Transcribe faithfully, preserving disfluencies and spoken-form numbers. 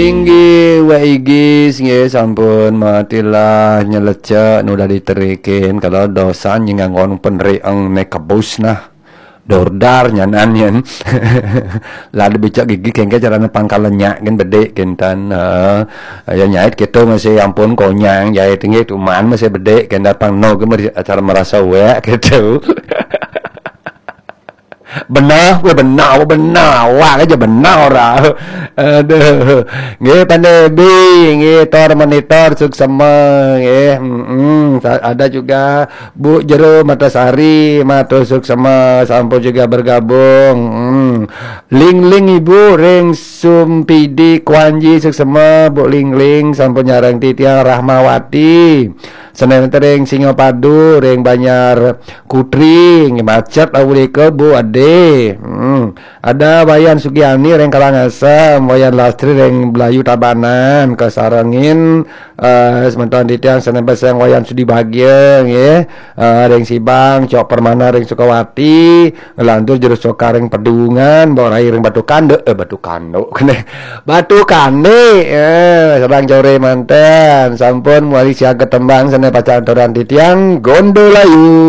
Inggih, Wak Igis, nggih, sampun matilah nyelecek nu udah diterikin. Kalau dosan nyinganggon penrieng ne kebus nah. Dordar nyanan yen. Lah dibicak gigi kengke carane pangkal lenyak gen bedik kintan. Heeh. Ya nyait gitu masih ampun konyang jait nggih tuman masih bedik kintan pang no ge meri- acara merasa wek gitu. Benar, gue benar, gue benar, awak aja benar ora. Aduh. Nggih Pandai Bi, nggih Tor Monitor suksema nggih. Mm-mm. Sa- Ada juga Bu Jero Matasari, matur suksema sampun juga bergabung. Mm. Ling Ling Ibu ring Sumpidi Kuanji suksema Bu Ling Ling sampun nyareng titiang Rahmawati. Senen ring Singapadu, ring Banjar Kutri, nggih macet awurika Bu Ade. Hmm. Ada Wayan Sugiani ring Karangasem, Wayan Lastri ring Belayu Tabanan, kasarengin eh, semeton titiang senen peseng Wayan Sudi Bagia nggih. Eh, ring Sibang, Cok Permana ring Sukawati, ngelantur jero soka ring Pedungan, Mbok Rai ring Batu Kanduk, eh Batu Kanduk kene. Batu Kanduk, eh, sareng core manten, sampun mawali siaga tembang senen pacang aturan titiang Gondolayu.